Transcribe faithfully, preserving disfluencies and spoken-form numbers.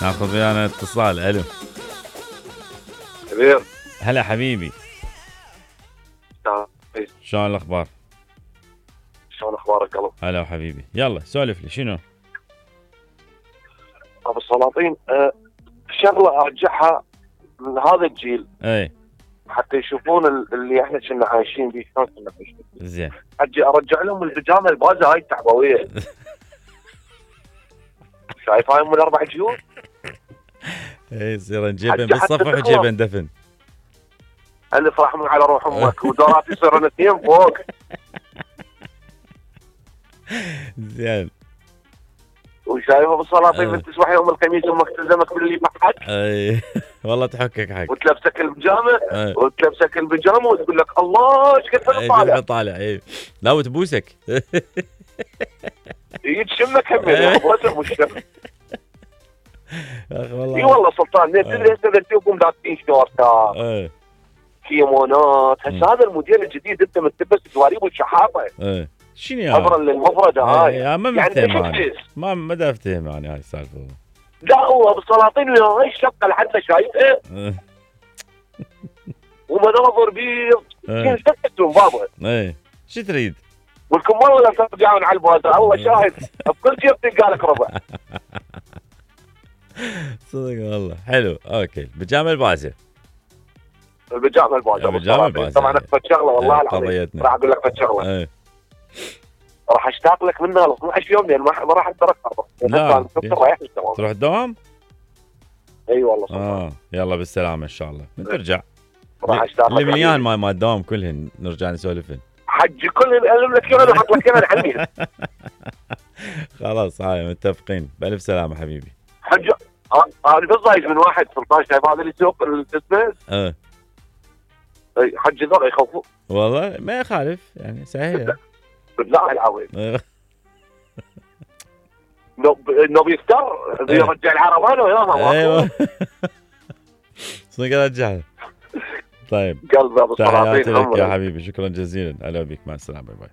ناخذ ويانا اتصال. الو كبير. هلا حبيبي، شلون الاخبار؟ شلون اخبارك قلب؟ هلا حبيبي، يلا سولف لي شنو؟ ابو السلاطين، أه شغله ارجعها من هذا الجيل اي حتى يشوفون اللي احنا كنا عايشين به شلون كنا عايشين. زين. اجي ارجع لهم البيجامه البازه هاي التعبويه. شايف هاي ام الاربع جيوب؟ اي يصير نجيبن بالصفح وجيبن دفن. الف رحمه على روح امك ودورات يصيرون اثنين فوق. زين. وشايف ابو السلاطين من تصبح يوم الخميس امك تلزمك باللي بحق. اي والله تحكك حق. وتلبسك البيجامه وتلبسك البيجامه وتقول لك الله ايش كثر طالع. اي طالع اي. لا وتبوسك. يتشمك هم يا ابو الشم. يا اخي والله. اي والله سلطان تدري هسه تشوفهم لابسين شورتات. اي. كيمونات، هسه هذا الموديل الجديد انت متلبس دواريب والشحاطه. اي. شنو يا نظرا للمفرده هاي. يا ما يعني مفتهم ما ما دا افتهم يعني هاي السالفه. لا هو ابو السلاطين ويا هاي الشقه لحد شايفها ومناظر بيض كل سكتهم بابا. اي شو تريد؟ والكمال ولا ترجعون على البازار الله شاهد بكل جيب تلقى لك ربع. صدق والله حلو. اوكي البيجامه البازه. البيجامه البازه. البيجامه البازه طبعا اكثر شغله والله العظيم راح اقول لك فد شغله. ايه. راح اشتاق لك منها ل اثنعش يوم لان ما راح اترك لا تروح الدوام؟ اي والله صراحه. اه يلا بالسلامه ان شاء الله ترجع. راح اشتاق لك. المليان ما ما الدوام كلهن نرجع نسولفن. حجي كلهن الم لك اياهم واحط لك اياهم عني. خلاص هاي متفقين. بالف سلامه حبيبي. حج انا بالضايج من واحد سلطان شايف هذا اللي يسوق الاسمه؟ اه اي حج ذول يخوفون والله ما يخالف يعني سهله. بالله العظيم. انه بيفتر يرجع العربان وياها. ايوه صدق رجعها. طيب قلب ابو السلاطين تحياتي لك يا حبيبي، شكرا جزيلا. هلا بك، مع السلامه، باي باي.